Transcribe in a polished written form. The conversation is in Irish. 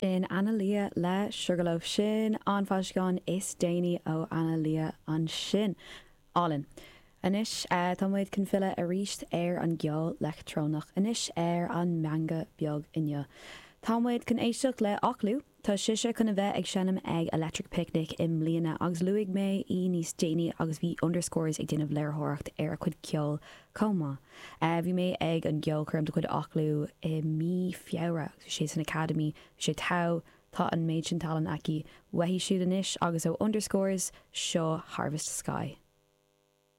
Sin Anna Lia le Sugarloaf. Sin an foilseachán is déanaí ó Anna Lia ansin. Álainn. Anois tá muid chun filleadh arís ar an gceol leictreonach, anois ar an meangadh beag inniu. Tá muid chun éisteacht le Oklou. Tá sise chun a bheith ag seinm ag Electric Picnic i mbliana agus luaigh mé í níos déanaí agus bhí Underscores ag déanamh léiritheoireacht ar a cuid ceoil chomh maith. Bhí mé ag an gceolchoirm de chuid Oklou i mí Feabhra agus bhí sé san Academy, bhí sé togha, tá an méid sin tallann aici. Uaithi siúd anois agus ó Underscores, seo Harvest Sky.